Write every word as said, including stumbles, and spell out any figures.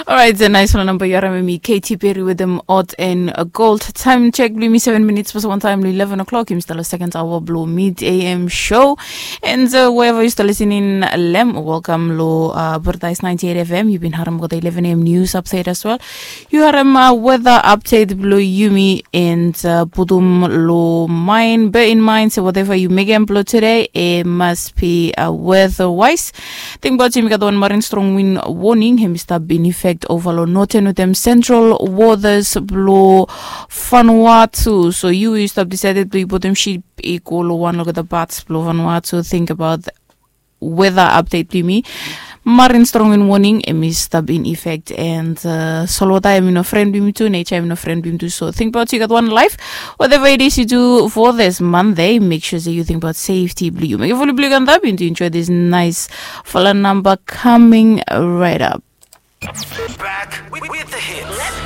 Orait, a nais fala namba yu harim em i Katy Perry wetem Hot and Cold. Taem chek blong yumi seven minits past wan taem long eleven o'clock. Yumi stap long second hour blong Mid A M show. And uh, wherever yu stap listening, lem, welcome lo uh, Paradise ninety-eight F M. Yu bin harim olgeta eleven A M news update as well. Yu harim uh, weather update blong yumi and uh, putum lo mind, bear in mind se whatever yu mekem blong today, e must be uh, weather wise. Tingbaot yumi gat wan marin strong wind warning, hem i stap in effect ova lo northern wetem central waters blo Vanuatu. So yu yu stap decided blo yu putum ship i go lo wan olgeta parts blo Vanuatu, think about weather update blo yumi. Marin strong wind warning, hem i stap in effect, and uh, solwota hem i no fren blo yumi tu, nature hem i no fren blo yumi tu. So tingbaot yu gat wan life, whatever it is you do for this Monday, make sure se yu tingbaot safety blo yu. Mekem fulu blo yu antap, yu enjoy this nice fala namba coming right up. Back with, with the hits.